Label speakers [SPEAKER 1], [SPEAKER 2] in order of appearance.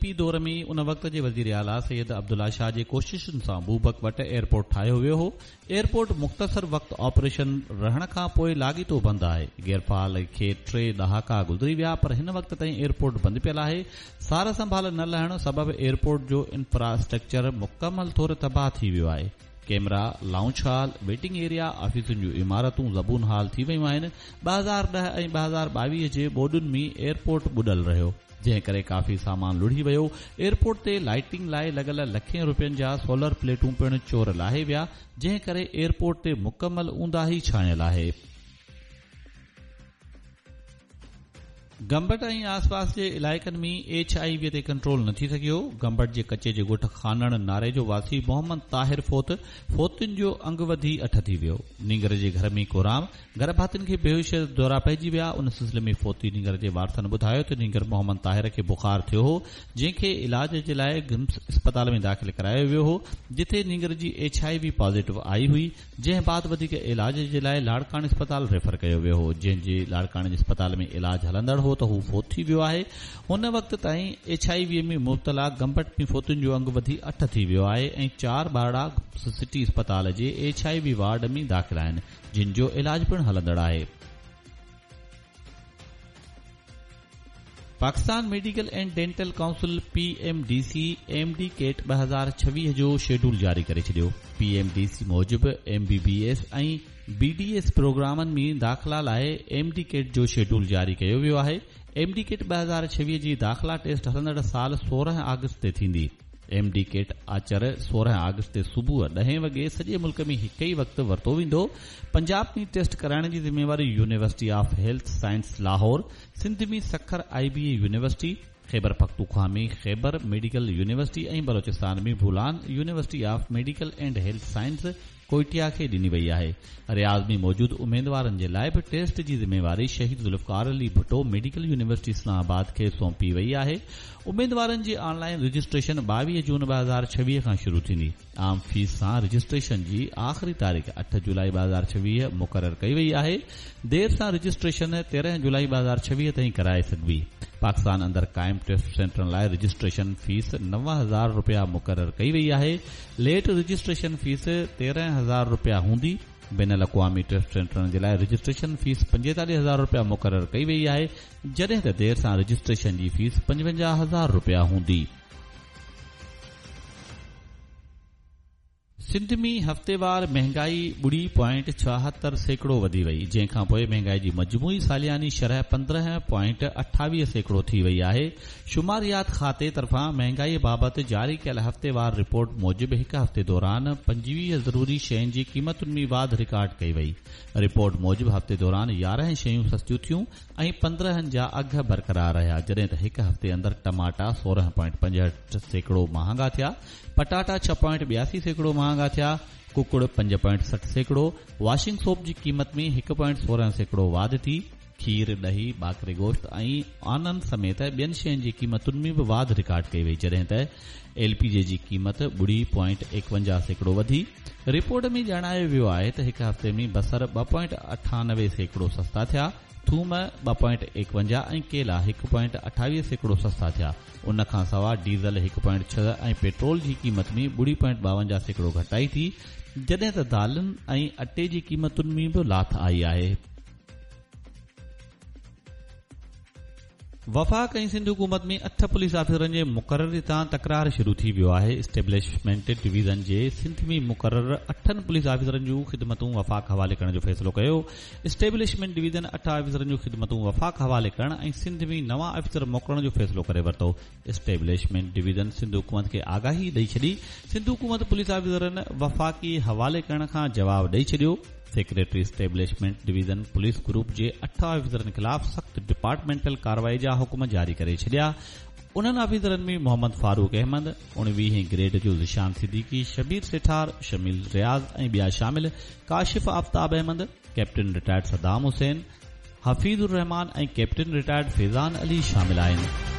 [SPEAKER 1] P دور ۾ ان وقت جي وزيراعليٰ سيد عبدالله شاهه جي ڪوششن سان بوبڪ وٽ ايئرپورٽ ٺاهيو ويو هو. ايئرپورٽ مختصر وقت آپريشن رهڻ کان پوء لاڳيتو بند آهي. غيرفعال کي ٽي ڏهاڪا گذري ويا پر هن وقت تائين ايئرپورٽ بند پيل آهي. سار سنڀال نه لهڻ سبب ايئرپورٽ جو انفراسٽرڪچر مڪمل طور تباهه ٿي ويو آهي. Camera, lounge hall, waiting area, آفيسن جون عمارتون زبون حال ٿي ويون آهن. 2010 ۽ 2022 جي ٻوڏن ۾ ايئرپورٽ ٻڏل رهيو. جنهن ڪري ڪافي سامان لڙهي ويو. ايئرپورٽ تي لائيٽنگ لاء لڳل لکين روپين جا سولر پليٽون پڻ چور لاهي ويا، جنهن ڪري ايئرپورٽ تي مڪمل اونداهي ڇانيل آهي. گمبٽ ۽ آسپاس جي علائقن ۾ ايڇ I V تي ڪنٽرول نه ٿي سگهيو، گمبٽ جي ڪچي جي ڳوٺ خانڻ ناريجو واسي محمد طاهر فوت، فوتين جو انگ وڌي اٺ ٿي ويو، نينگر جي گهر ۾ ڪهرام، گهر ڀاتين کي بيهوشي جا دورا پئجي ويا، ان سلسلي ۾ فوتي نينگر جي وارثن ٻڌايو ته نينگر محمد طاهر کي بخار ٿيو هو، جنهن کي علاج جي لاء گمس اسپتال ۾ داخل ڪرايو ويو هو، جتي نينگر جي ايڇ I V positive آئي هئي، جنهن بعد وڌيڪ علاج جي لاء لاڙڪاڻي اسپتال ريفر ڪيو ويو هو، جنهن جي لاڙڪاڻي جي اسپتال ۾ علاج هلندڙ هو ته هو فوت ٿي ويو آهي، هن وقت تائين ايڇ I V ۾ مبتلا گمبٽ ۾ فوتين جو انگ وڌي اٺ ٿي ويو آهي ۽ چار ٻارڙا گمس سٽي اسپتال جي ايڇ I V ward ۾ داخل آهن. جن جو علاج پڻ هلندڙ آهي. Pakistan medical and dental council, P M D C, M D CAT 2026 جو شيڊول جاري ڪري ڇڏيو. پي ايم ڊي سي موجب M B B S ۽ B D S پروگرامن ۾ داخلا لاء ايم ڊي ڪيٽ جو شيڊول جاري ڪيو ويو آهي. ايم ڊي ڪيٽ 2026 جي داخلا ٽيسٽ هلندڙ سال 16 آگسٽ تي ٿيندي. ايم ڊي ڪيٽ آچر 16 آگسٽ تي صبح ڏهين وڳي سڄي ملڪ ۾ هڪ ئي وقت ورتو ويندو. پنجاب ۾ ٽيسٽ ڪرائڻ جي ذميواري university of health science Lahore, Sindh ۾ Sukkur I B A university, Khyber Pakhtunkhwa ۾ Khyber medical university ۽ Balochistan ۾ Bolan university of medical and health science Quetta کي ڏني وئي آهي. رياض ۾ موجود اميدوارن جي لاء به ٽيسٽ جي ذميواري شهيد ذوالفقار علي ڀٽو ميڊيڪل يونيورسٽي اسلام آباد کي سونپي وئي آهي. اميدوارن جي آن لائين رجسٽريشن 22 جون 2026 کان شروع ٿيندي. عام فيس سان رجسٽريشن جي آخري تاريخ اٺ جولائي 2026 مقرر ڪئي وئي آهي. دير سان رجسٽريشن 13 جولائي 2026 تائين ڪرائي سگهبي. پاڪستان اندر قائم ٽيسٽ سينٽرن لاء رجسٽريشن فيس 9000 رپيا مقرر ڪئي وئي آهي. ليٽ رجسٽريشن فيس 13000 رپيا هوندي. بين الاقوامي ٽيسٽ سينٽرن جي لاء رجسٽريشن فيس 45000 رپيا مقرر ڪئي وئي آهي، جڏهن ته دير سان رجسٽريشن جي فيس 55000 رپيا هوندي. سنڌ ۾ هفتيوار مهنگائي ٻڙي پوائنٽ 76% وڌي وئي، جنهن کانپوء مهنگائي جي مجموعي سالياني شرح 15.28% ٿي وئي آهي. شماريات کاتي طرفان مهنگائي بابت جاري ڪيل هفتيوار رپورٽ موجب هڪ هفتي دوران 25 ضروري شين جي قيمتن ۾ واڌ رڪارڊ ڪئي وئي. رپورٽ موجب هفتي دوران 11 شيون سستيون ٿيون ۽ 15 جا اگهه برقرار رهيا، جڏهن ته هڪ هفتي اندر ٽماٽا 16.65% مهانگا ٿيا، پٽاٽا 6.82% مهانگا ٿيا، ڪڪڙ 5.60%، واشنگ سوپ جي قيمت ۾ 1.16% واڌ ٿي، کير، ڏهي، ٻاڪري گوشت ۽ آنن سميت ٻين شين جي قيمتن ۾ به واڌ رڪارڊ ڪئي وئي جڏهن ته ايل پي جي جي قيمت 0.51% وڌي. رپورٽ ۾ ڄاڻايو ويو آهي ته هڪ هفتي ۾ بصر 2.98% سستا ٿيا، ٿوم 2.51 ۽ ڪيلا 1.28% سستا ٿيا. ان کان سواء ڊيزل 1.6 ۽ پيٽرول جي قيمت ۾ 0.52% گهٽتائي ٿي، جڏهن ته دالن ۽ اٽي جي قيمتن ۾ به لاٿ آئي آهي. وفاق ۽ سنڌ حڪومت ۾ اٺ پوليس آفيسرن جي مقرري تان تڪرار شروع ٿي ويو آهي، اسٽيبلشمينٽ ڊويزن جي سنڌ ۾ مقرر اٺن پوليس آفيسرن جون خدمتون وفاق حوالي ڪرڻ جو فيصلو ڪيو، اسٽيبلشمينٽ ڊويزن اٺ آفيسرن جون خدمتون وفاق حوالي ڪرڻ ۽ سنڌ ۾ نوان آفيسر موڪلڻ جو فيصلو ڪري ورتو. اسٽيبلشمينٽ ڊويزن سنڌ حڪومت کي آگاهي ڏئي ڇڏي. سنڌ حڪومت پوليس آفيسرن وفاقي حوالي ڪرڻ کان جواب ڏئي ڇڏيو. Secretary establishment division police group جي اٺ آفيسرن خلاف سخت ڊپارٽمينٽل ڪارروائي جا حڪم جاري ڪري ڇڏيا. انهن آفيسرن ۾ محمد فاروق احمد، اڻويهين گريڊ جو ذيشان صديقي، شبير سيٺار، شميل رياض ۽ ٻيا شامل، Kashif Aftab Ahmed, captain retired Saddam Hussain, Hafeez ur Rehman ۽ captain retired Faizan Ali شامل آهن.